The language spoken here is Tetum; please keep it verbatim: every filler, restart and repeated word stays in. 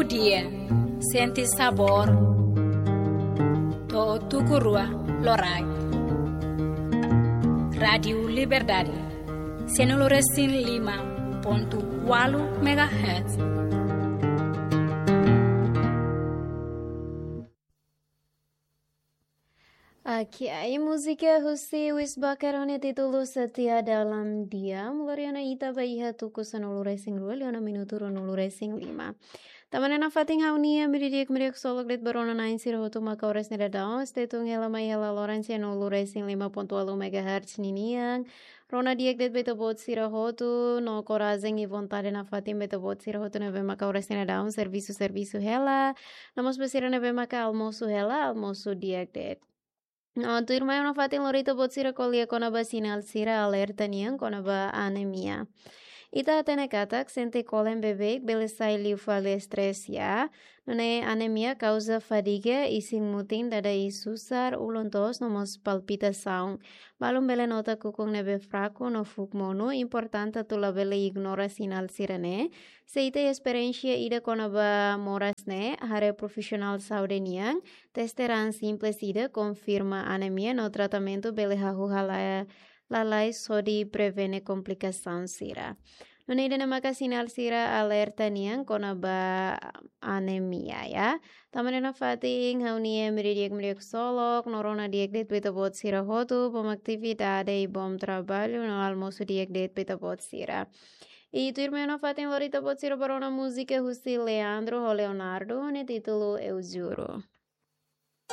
Dia, sente sabór, to'o tuku rua loraik. Rádiu Liberdade, sianulu resin lima pontu ualu megahertz. Oke, ai múzika husi Wisbaker ho nia títulu Setia Dalam Diam, lori ona ita ba iha tuku sanulu resin rua, liu ona minutu ruanulu resin lima. Tanba ne'e nafatin ha'u-nia meiudia di'ak, meiudia ksolok de'it ba rona-na'in sira hotu mak oras ne'e daudaun, stay tune hela mai hela loron sianulu resin lima pontu ualu megahertz ninian. Rona di'ak de'it ba ita-boot sira hotu, no korajen i vontade nafatin ba ita-boot sira hotu ne'ebé maka oras ne'e daudaun servisu, servisu hela. No mós ba sira ne'ebé maka almosu hela, almosu di'ak de'it. No tuirmai ha'u nafatin lori ita-boot sira ko'alia kona-ba sinál sira alerta nian kona-ba anemia. Ita hatene katak sente kolen beibeik bele sai liu fali stress, ya. Nune'e anemia kauza fadiga, isin-mutin, dada iis susar, ulun-toos no mós palpitasaun. Balun bele nota kukun ne'ebé fraku no fuuk monu, importante atu labele ignora sinál sira-ne'e. Se ita iha esperiénsia ida kona-ba moras ne'e, haree profisionál saúde nian, teste raan simples ida, konfirma anemia no tratamentu bele hahú halai, lalais hodi prevene komplikasaun sira. Nune'e ida-ne'e maka sinál sira alerta nian kona-ba anemia, ya. Tanba ne'e nafatin ha'u-nia meiudia di'ak, meiudia ksolok, no rona di'ak de'it ba ita-boot sira hotu, bom atividade i bom traballu, no almosu di'ak de'it ba ita-boot sira. I tuirmai ha'u nafatin lori ita-boot sira ba rona múzika husi Leandro ho Leonardo, nia títulu Eu Juro.